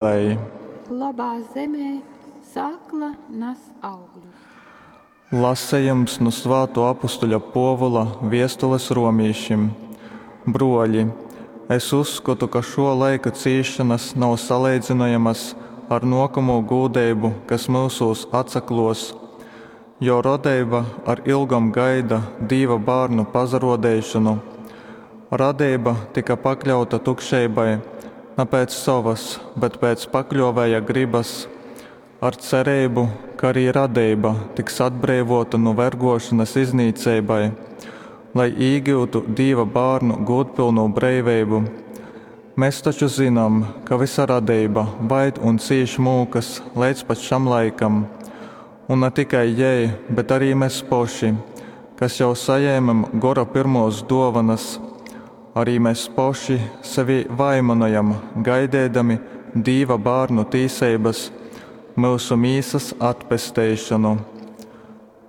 Lai. Lobā zemē sākla nas augļus. Lasejums nu Svātuo apustuļa Puovula viestules romīšim. Bruoļi, es uzskotu, ka šuo laika cīsšonas nav saleidzynojamas ar nuokamū gūdeibu, kas myusūs atsakluos. Jo radeiba ar ilgom gaida Dīva bārnu pasaruodeišonu. Radeiba tyka pakļauta tukšeibai na pēc sovas, bet pēc pakļuovēja grybas, ar cereibu, ka arī radeiba tiks atbreivōta nu vergōšonas iznīceibai, lai īgyutu Dīva bārnu gūdpylnū breiveibu. Mes taču zynam, ka vysa radeiba vaid un cīš mūkas leidz pat šam laikam. Un na tikai jei, bet arī mes poši, kas jau sajēmem Gora pyrmōs dōvonas, arī mes poši sevī vaimanojam gaideidami Dīva bārnu tīseibas, myusu mīsas atpesteišonu.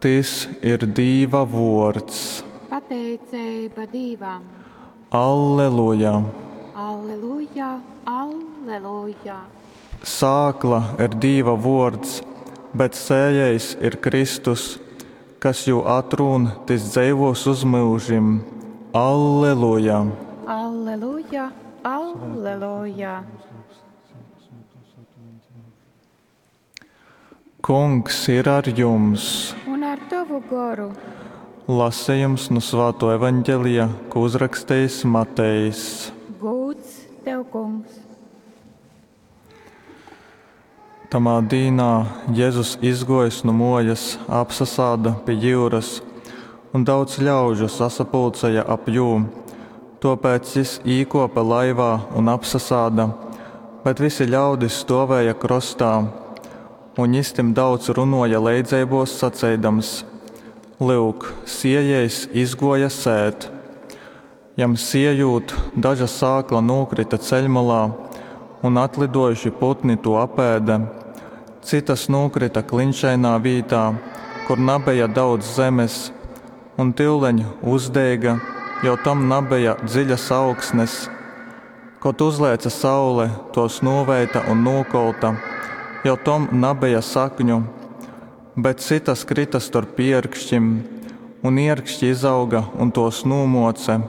Tys ir Dīva vōrds. Pateiceiba Dīvam. Alleluja! Alleluja, alleluja! Sākla ir Dīva vōrds, bet sējējs ir Kristus. Kas jū atrūn, tys dzeivōs uz myužim. Alleluja! Alleluja, alleluja! Kungs ir ar jums! Un ar tovu goru. Lasejums nu Svātuo Evaņgelija, ko uzrakstejis Matejs. Gūds tev, kungs! Tamā dīnā Jezus izgōjis nu mōjas, apsasāda pi jyuras, un daudz ļaužu sasapulcēja ap jū. Tōpēc jys īkōpe laivā un apsasāda, bet visi ļaudis stōvēja krostā. Un jys tim daudz runōja leidzeibōs saceidams: Lyuk, siejējs izgōja sēt. Jam siejūt, daža sākla nūkryta ceļmolā, un atlidojuši putni tū apēde. Cytas nūkryta klinšainā vītā, kur nabeja daudz zemes, un tyuleņ uzdeiga, jo tom nabeja dziļas augsnes. Kod uzlēce saule, tōs nūveita un nūkolta, jo tom nabeja sakņu. Bet cytas kryta storp ierkšķim, un ierkšķi izauga un tos nūmōce.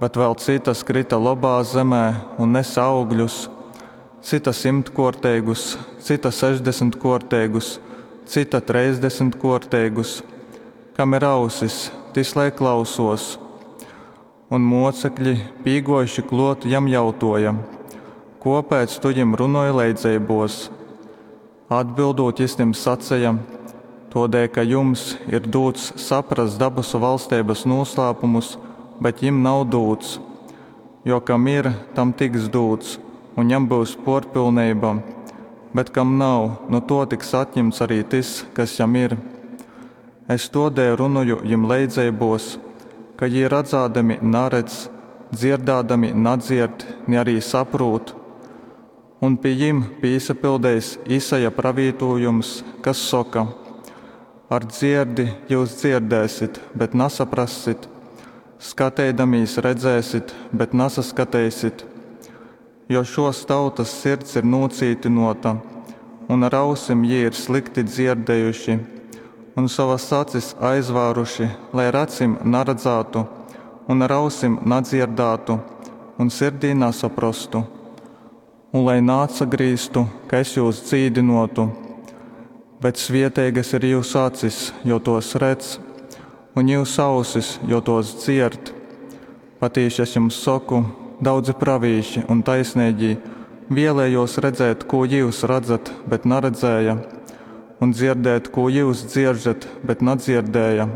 Bet vēl cytas kryta lobā zemē un nese augļus, cyta symtkōrteigus, cyta sešdesmitkuorteigus, cyta treisdesmitkuorteigus. Kam ir ausis, tys lai klausuos. Un muocekļi, pīguojuši kluot, jam jautuoja: Kuopēc tu jim runoj leidzeibuos? Atbildūt jis tim saceja: Tuodēļ, ka jums ir dūts saprast dabasu valsteibas nūslāpumus, bet jim nav dūts. Jo kam ir, tam tiks dūts, un jam byus puorpilneiba, bet kam nav, nu tuo tiks atjimts arī tys, kas jam ir. Es tuodēļ runoju jim leidzeibuos, ka jī radzādami naredz, dzierdādami nadzierd, ni arī saprūt. Un pi jim pīsapildeis Isaja pravītūjums, kas soka: Ar dzierdi jyus dzierdēsit, bet nasaprassit, skateidamīs redzēsit, bet nasaskateisit. Jo šuos tautys sirds ir nūcītynuota, un ar ausim jī ir slikti dzierdejuši, un sovas acis aizvāruši, lai ar acim naradzātu, un ar ausim nadzierdātu, un sirdī nasaprostu. Un lai naatsagrīztu, ka es jūs dzīdynuotu. Bet svieteigas ir jūsu acis, jo tos redz, un jūsu ausis, jo tos dzierd. Patīši es jums soku, daudzi pravīši un taisnīgī vēlējos redzēt, ko jūs redzat, bet naredzēja, un dzirdēt, ko jūs dzieržat, bet nadzirdēja.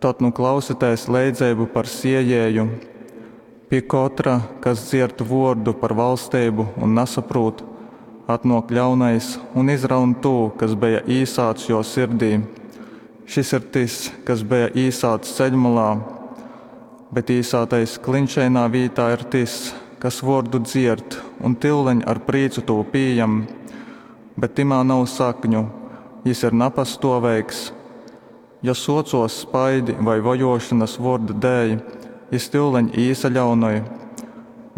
Tad nu klausieties leidzeibu par siejēju. Pie katra, kas dzierd vordu par valstību un nesaprūt, atnok ļaunais un izraun tū, kas bija īsāts jo sirdī. Šis ir tas, kas bija īsāts ceļmalā, bet īsātais klinšainā vītā ir tas, kas vordu dzierd un tyuleņ ar prīcu tū pījam, bet timā nav sakņu, jis ir napastoveigs. Ja socos spaidi vai vojošanas vorda dēļ, jis tyuleņ īsaļaunoj,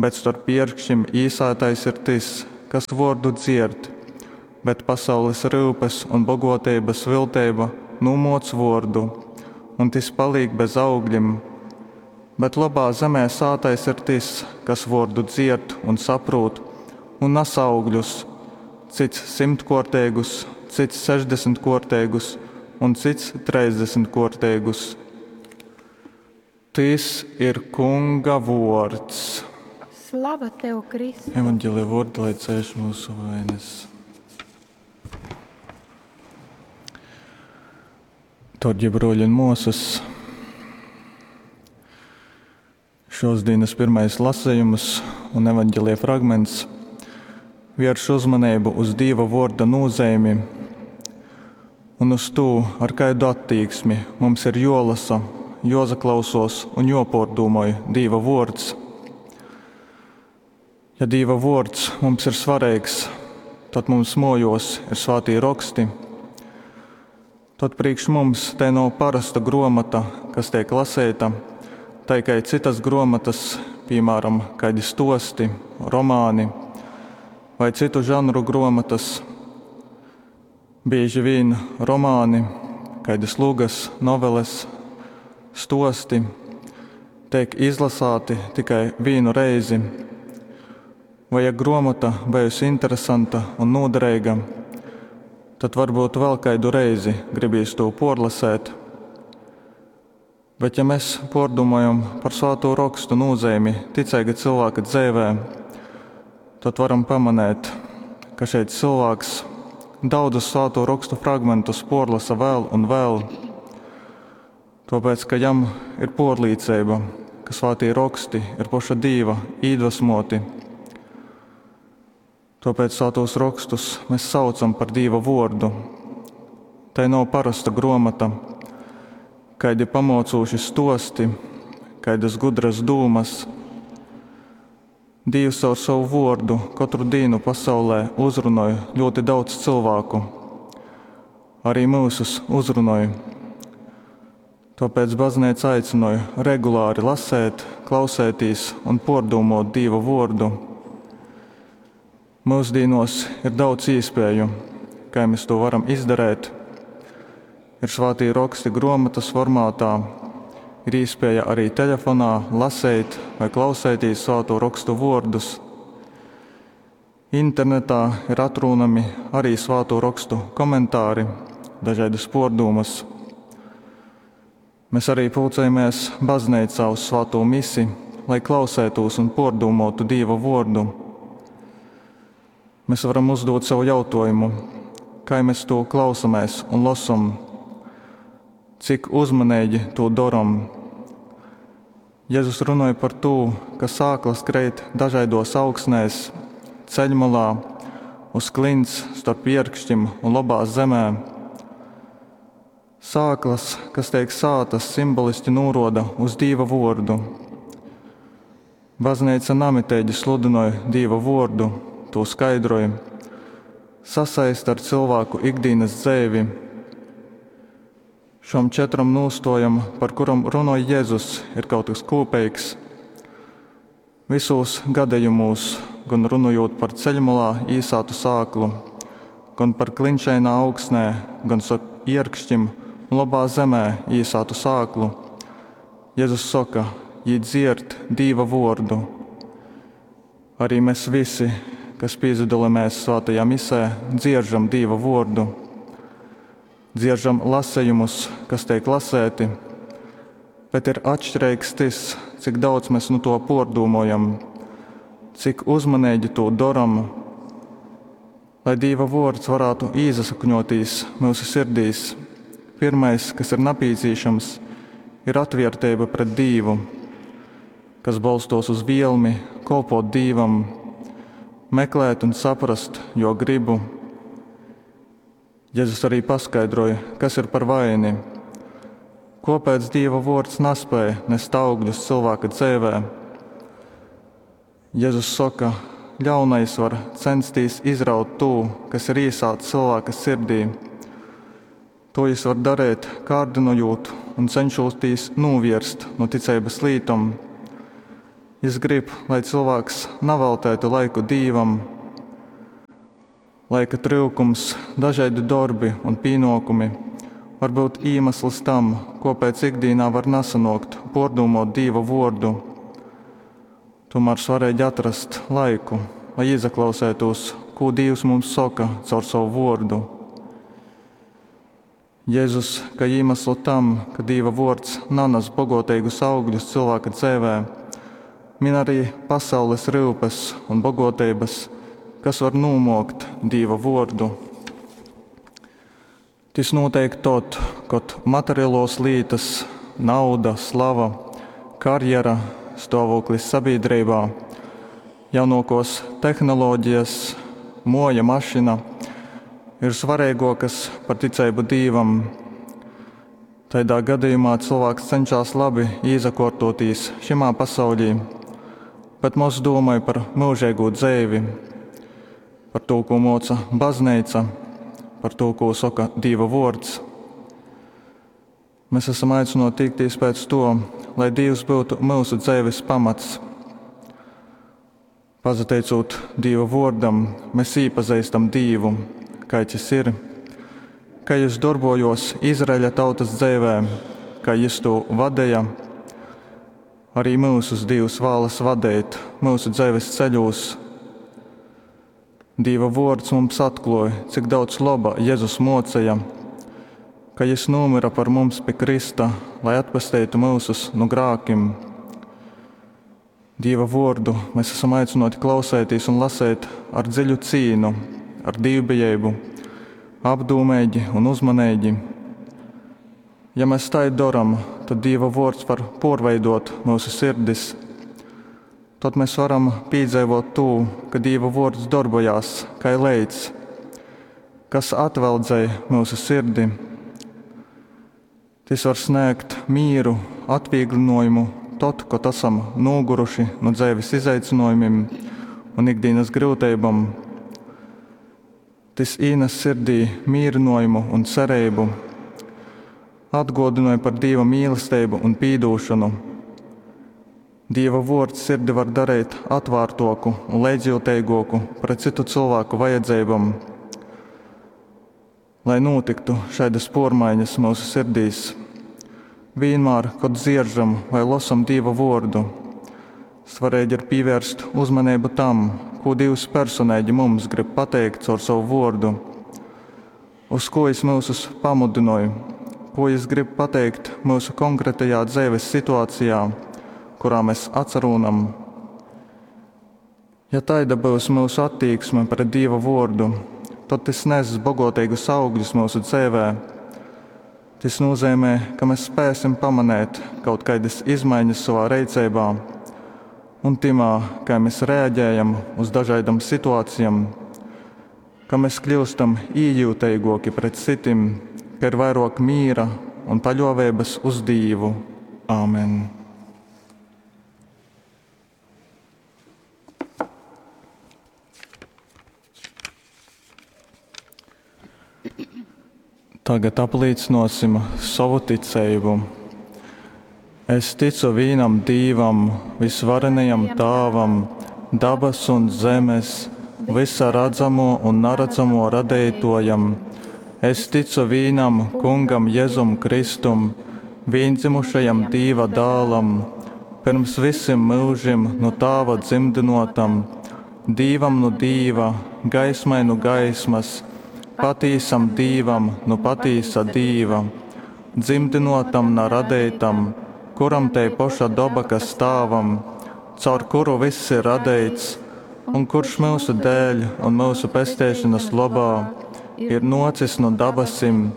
bet storp ierkšķim īsātais ir tys, kas vōrdu dzierd, bet pasaules ryupes un bogōteibas vilteiba nūmōc vōrdu, un tys palīk bez augļim. Bet lobā zemē sātais ir tys, kas vōrdu dzierd un saprūt un nas augļus, cyts symtkōrteigus, cyts sešdesmitkōrteigus un cyts trejsdesmitkōrteigus. Tys ir Kunga vōrds. Slava tev, Kristu! Evangelija vōrdi, lai cēš mūsu vainas. Dārgie brōļi un mōsas, šos dienas pirmais lasījums un evangelija fragments vērš uzmanību uz Dīva vōrda nozīmi un uz to, ar kādu attieksmi mums ir jolasa, jozaklausos un jopōrdūmoj Dīva vōrds. Ja Dīva vōrds mums ir svarīgs, tad mums mojos ir svātī roksti. Tad priekš mums te nav parasta gromata, kas tiek lasīta, tai kā citas gromatas, piemēram, kādi stosti, romāni vai citu žanru gromatas. Bieži vien romāni, kādas lugas, noveles, stosti tiek izlasāti tikai vienu reizi. Vai ja gromata bijusi interesanta un noderīga, tad varbūt vēl kādu reizi gribīs to porlasēt. Bet ja mēs pordomājam par svāto rakstu nozīmi ticīga cilvēka dzīvē, tad varam pamanīt, ka šeit cilvēks daudzus svāto rakstu fragmentus porlasa vēl un vēl. Tāpēc, ka jam ir porlīcība, ka svātī raksti ir poša Dīva iedvesmoti. Tāpēc svātos rakstus mēs saucam par Dīva vārdu. Tai nav parasta gromata, kādi pamocūši stosti, kādas gudras dūmas. Dievs caur savu vārdu katru dienu pasaulē uzrunāja ļoti daudz cilvēku. Arī mūsus uzrunāja. Tāpēc baznīca aicināja regulāri lasēt, klausēties un pārdomot Dieva vārdu. Mūsdienos ir daudz iespēju, kā mēs to varam izdarīt. Ir svātī raksti grāmatas formātā, ir iespēja arī telefonā lasīt vai klausēties svāto rakstu vārdus. Internetā ir atrunami arī svāto rakstu komentāri, dažādas pārdomas. Mēs arī pulcējamies baznīcā uz svāto misi, lai klausētos un pārdomātu Dieva vārdu. Mēs varam uzdot sev jautājumu, kā mēs to klausāmies un lasam, cik uzmanīgi to darām. Jēzus runāja par to, ka sāklas krīt dažādos augsnēs, ceļmalā, uz klints, starp ierkšķim un labā zemē. Sāklas, kas tiek sātas, simboliski noroda uz Dieva vārdu. Baznīca namitīgi sludināja Dieva vārdu, to skaidroja, sasaista ar cilvēku ikdienas dzīvi. Šom četram nostojam, par kuram runāja Jēzus, ir kaut kas kopīgs. Visos gadījumos, gan runājot par ceļmalā īsātu sāklu, gan par klinšainā augsnē, gan starp ierkšķim un labā zemē īsātu sāklu, Jēzus saka, jī dzierd Dīva vārdu. Arī mēs visi, kas piedalāmies svētajā misē, dzieržam Dīva vārdu. Dzieržam lasējumus, kas tiek lasēti, bet ir atšķirīgs tas, cik daudz mēs nu to pārdomājam, cik uzmanīgi to darām, lai Dīva vārds varētu iesakņoties mūsu sirdīs. Pirmais, kas ir nepieciešams, ir atvērtība pret Dievu, kas balstos uz vielmi kalpot Dievam, meklēt un saprast, jo gribu. Jēzus arī paskaidroja, kas ir par vaini. Kāpēc Dieva vārds nespēja nest augļus cilvēka dzīvē? Jēzus saka, ļaunais var censties izraut to, kas ir iesācis cilvēka sirdī. To jis var darīt, kārdinojot un cenšoties novērst no ticības lītom. Jis grib, lai cilvēks neveltētu laiku Dievam. Laika tryukums, dažaidi dorbi un pīnōkumi var byut īmasls tam, kōpēc ikdīnā var nasanōkt pōrdūmōt Dīva Vōrdu. Tūmār svareigi atrast laiku, lai īsaklauseitūs, kū Dīvs mums soka caur sovu Vōrdu. Jezus kai īmaslu tam, ka Dīva Vōrds nanas bogōteigus augļus cylvāka dzeivē, min ari pasaules ryupes un bogōteibas, kas var nūmōkt Dīva Vōrdu. Tys nūteik tod, kod materialōs lītas, nauda, slava, karjera, stāvoklis sabiedrībā, jaunākās tehnoloģijas, moja, mašina ir svarīgākas par ticību Dīvam. Tādā gadījumā cilvēks cenšas labi īsakārtoties šimā pasaulī, bet moz domāj par mūžīgo dzīvi, par to, ko moca baznīca, par to, ko saka Dieva vārds. Mēs esam aicināti tiekties pēc to, lai Dievs būtu mūsu dzīves pamats. Pazateicot Dieva vārdam, mēs iepazīstam Dievu, kāds jis ir, kā jis darbojos Izraeļa tautas dzīvē, kā jis to vadīja. Arī mūsus Dievs vēlas vadīt mūsu dzīves ceļos. Dieva vārds mums atklāja, cik daudz laba Jēzus mocīja, ka Jis nomira par mums pie Krista, lai atpestītu mūsus no grākiem. Dieva vārdu mēs esam aicināti klausēties un lasīt ar dziļu cīnu, ar dievbijību, apdomīgi un uzmanīgi. Ja mēs tā darām, tad Dieva vārds var porveidot mūsu sirdis. Tad mēs varam piedzīvot to, ka Dieva vārds darbojās kā leits, kas atveldzēja mūsu sirdi. Tas var sniegt mieru, atvieglinājumu tad, kad esam noguruši no dzīves izaicinājumiem un ikdienas grūtībām. Tas ienes sirdī mierinājumu un cerību, atgādināja par Dieva mīlestību un pīdūšanu. Dieva vārds sirdi var darīt atvērtāku un līdzjūtīgāku pret citu cilvēku vajadzībām. Lai notiktu šādas pormaiņas mūsu sirdīs, vienmēr, kad dzieržam vai lasam Dieva vārdu, svarīgi ir pievērst uzmanību tam, ko Dievs personīgi mums grib pateikt caur savu vārdu, uz ko Jis mūsus pamudināja, ko Jis grib pateikt mūsu konkrētajā dzīves situācijā, kurā mēs atcerūnam. Ja taida būs mūsu attieksme pret Dieva vārdu, tad tas neses bogotīgus augļus mūsu dzīvē. Tas nozīmē, ka mēs spēsim pamanīt kaut kādas izmaiņas savā rīcībā un timā, kā mēs reaģējam uz dažādām situācijām, ka mēs kļūstam ījūtīgāki pret citiem, ka ir vairāk mīra un paļāvības uz Dievu. Āmen! Tagad apliecināsim savu ticību. Es ticu vienam Dievam, visvarenajam Tāvam, dabas un zemes, visa redzamo un neredzamo radītojam. Es ticu vienam Kungam Jēzum Kristum, viendzimušajam Dieva dēlam, pirms visiem mūžiem no Tāva dzimdinotam, Dievam no Dieva, gaismai no gaismas, patīsam Dievam no patīsa Dieva, dzimdinotam na radītam, kuram te poša doba, kas stāvam, caur kuru viss ir radīts, un kurš mūsu dēļ un mūsu pestēšanas labā ir nocis no dabasim,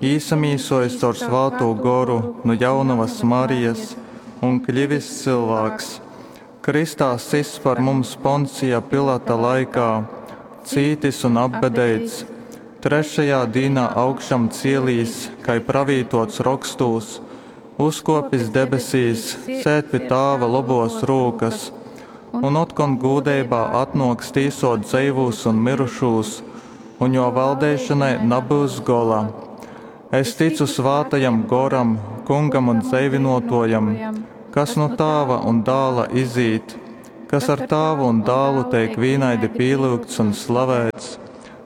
īsamīsojis caur svāto goru no jaunavas Marijas un kļivis cilvēks. Kristā sis par mums Poncija Pilata laikā, cītis un apbedēts, trešajā dīnā augšām cielīs, kai pravītots rokstūs, uzkopis debesīs, sēd pie tāva lobos rūkas, un otkon gūdeibā atnoks tīsot dzeivūs un mirušūs, un jo valdēšanai nebūs gola. Es ticu svātajam goram, kungam un dzeivinotojam, kas no tāva un dāla izīt, kas ar tāvu un dālu teik vīnaidi pīlūgts un slavēts,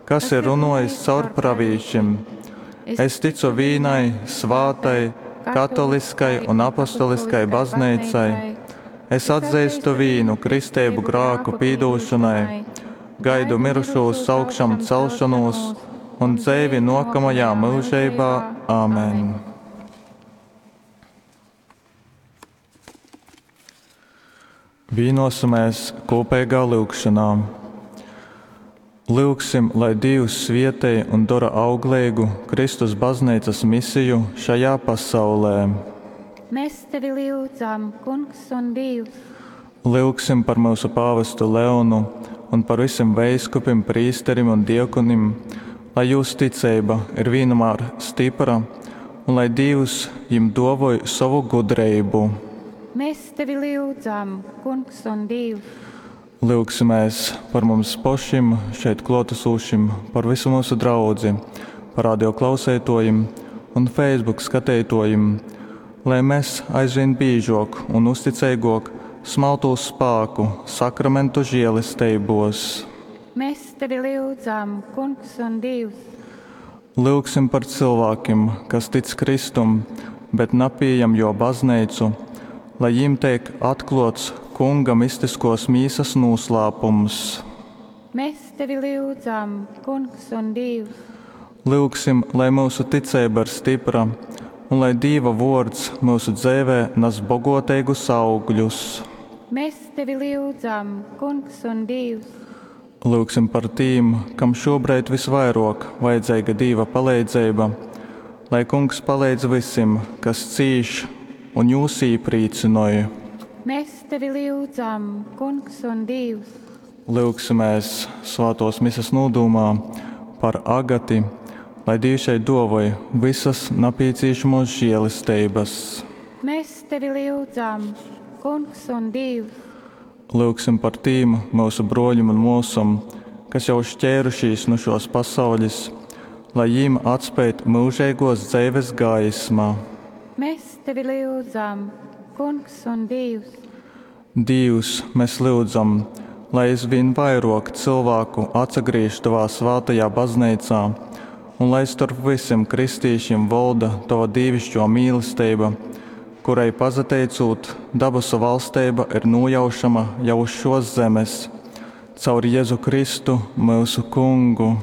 kas ir runōjis caur pravīšim. Es tycu vīnai, svātai, katoliskai un apostoliskai Bazneicai. Es atzeistu vīnu kristeibu grāku pīdūšonai, gaidu myrušūs augšamcelšonūs un dzeivi nōkamajā myužeibā. Amen. Vīnosimies kūpeigā lyugšonā. Lyugsim, lai Dīvs svietej un dora augleigu Kristus bazneicas misiju šajā pasaulē. Mēs tevi lyudzam, Kungs un Dīvs. Lyugsim par myusu pāvestu Leonu un par visim veiskupim, prīsterim un diakonim, lai jūs ticeiba ir vīnumār stypra un lai Dīvs jim duovoj sovu gudreibu. Mēs tevi lyudzam, Kungs un Dīvs. Lyugsimēs par mums pošim, šeit kluotasūšim, par visu myusu draudzi, par radio klauseituojim un Facebook skateituojim, lai mes aizvīn bīžuok un uzticeiguok smaltūs spāku sakramentu žielesteibos. Mēs tevi lyudzam, Kungs un Dīvs. Lyugsim par cylvākim, kas tic Kristum, bet napījam Juo Bazneicu, lai jim teik atkluots Kunga mistiskuos mīsas nūslāpums. Mēs tevi lyudzam, Kungs un Dīvs. Lyugsim, lai myusu ticeiba ir stypra un lai Dīva vuords myusu dzeivē nas boguoteigus augļus. Mēs tevi lyudzam, Kungs un Dīvs. Lyugsim par tīm, kam šūbreid vysvairuok vajadzeiga Dīva paleidzeiba, lai Kungs paleidz vysim, kas cīš, un jūs īprīcynoj. Mēs tevi lyudzam, Kungs un Dīvs. Lyugsimēs svātuos Mises nūdūmā par Agati, lai Dīvs jai duovoj vysas napīcīšamuos žielesteibys. Mēs tevi lyudzam, Kungs un Dīvs. Lyugsim par tīm myusu bruoļim un muosom, kas jau šķeirušīs nu šuos pasauļis, lai jīm atspeid myužeiguos dzeives gaisma. Mēs tevi lyudzam, Kungs un Dīvs. Dīvs, mes lyudzam, lai aizvīn vairuok cylvāku atsagrīž tovā svātajā Bazneicā un lai storp vysim kristīšim volda tova dīviškō mīlesteiba, kurai pasateicūt, dabasu valsteiba ir nūjaušama jau uz šōs zemes. Caur Jezu Kristu, myusu Kungu.